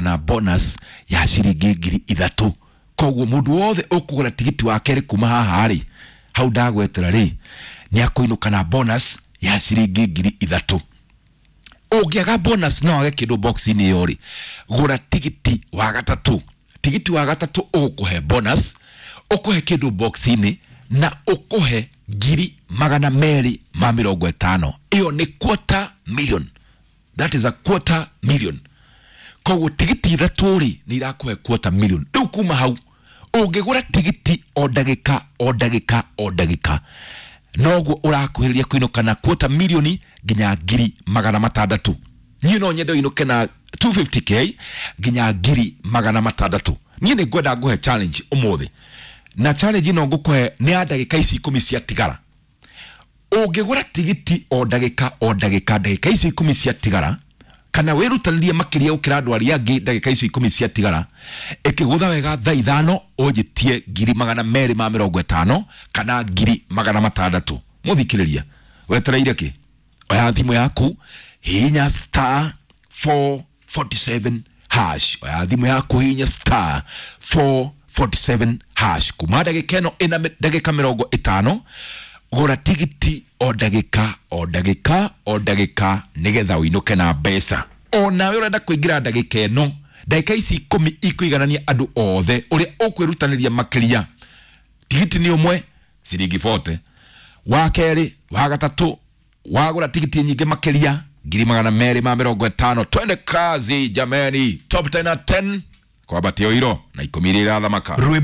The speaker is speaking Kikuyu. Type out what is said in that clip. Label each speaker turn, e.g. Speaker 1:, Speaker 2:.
Speaker 1: Na bonus ya ciringi 3,000. Koguo mundu wothe ukugura tigiti wa kerĩ kuma haha rĩ, hau ndagwetera rĩ, nĩ akũinũka na bonus ya ciringi 3,000. Ũngĩaga bonus, no wage kĩndũ box-inĩ ĩyo rĩ, gũra tigiti wa gatatũ. Tigiti wa gatatũ ũgũkũhe bonus, ũkũhe kĩndũ box-inĩ na ũkũhe 250,000. Ĩyo nĩ quarter million, that is a quarter million. Koguo tigiti ithatũ rĩ, nĩ irakũhe quarter million. Rĩu kuma hau ũngĩgũra tigiti o ndagĩka o ndagĩka o ndagĩka, noguo ũrakuhĩrĩria kũinũka na quarter million nginya 600,000. Niĩ no nyende ũinũke na 250K nginya 600,000. Niĩ nĩ ngwenda ngũhe challenge ũmũthĩ, na challenge ĩno ngũkũhe nĩ ya ndagĩka ici 10 ciatigara. Ũngĩgũra tigiti o ndagĩka o ndagĩka, ndagĩka icio 10 ciatigara, kana wĩrutanĩrie makĩria gũkĩra andũ arĩa angĩ, ndagĩka icio 10 ciatigara, ĩkĩgũtha wega thaa 5, ũnjĩtie 250,000 kana 600,000. Mũthikĩrĩria, wetereire kĩ? Oya thimũ yaku, hihinya *447#. Oya thimũ yaku, hihinya *447# kuma ndagĩka ĩno ĩna ndagĩka 50. Gũra tigiti o ndagĩka o ndagĩka o ndagĩka nĩgetha ũinũke na mbeca. O nawe ũrenda kũingĩra ndagĩka ĩno, ndagĩka ici 10 ikũiganania andũ othe ũrĩa ũkwĩrutanĩria makĩria. Tigiti nĩ ũmwe ciringi 40, wa kerĩ, wa gatatũ, wagũra tigiti nyingĩ makĩria, 250,000. Twende kazi jameni, top 10 na 10 kwambatia iro na 10 iria irathamaka.
Speaker 2: Rwĩmbo.